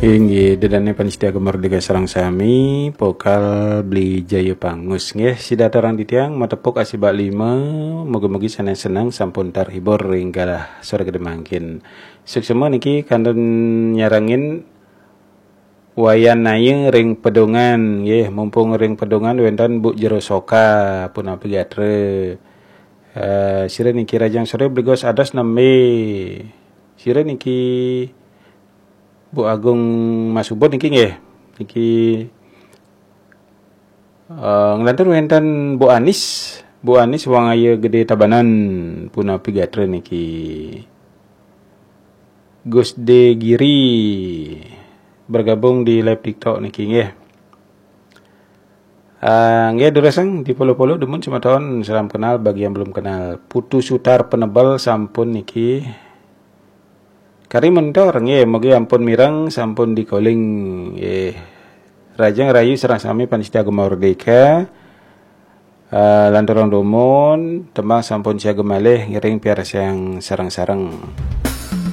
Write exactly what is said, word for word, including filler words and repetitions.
Inggih, dedane panitia Gemar Dega sareng sami, pokal Bli Jaya Pangus. Nggih, sida aturang titiang, matepuk asibak lima, mugi-mugi sanes seneng sampun terhibur ring galah sore gede mangkin. Suksma niki kantun nyarengin Wayan Naya ring Pedungan, nggih, mumpung ring Pedungan wenten Bu Jero Soka, punapi gatra. Eh, sira niki rahajeng sore Bli Gus, ados nembe. Sira niki Bu Agung Masubun niki nggih. Niki eh, nglantur wenten Bu Anis, Bu Anis Wangaya Gede Tabanan, punapi gatra niki. Gus De Giri bergabung di live TikTok niki nggih. Ah, nggih durusang di polo-polo dumun semeton, salam kenal bagi yang belum kenal. Putu Sutar Penebel sampun niki. Kari mentor nggih, mugi ampun mireng, sampun di-calling nggih. Rahajeng rahayu sareng sami panitia Gema Merdeka. Eh, lanturang dumun, tembang sampun siaga malih ngiring piarsayang sareng-sareng.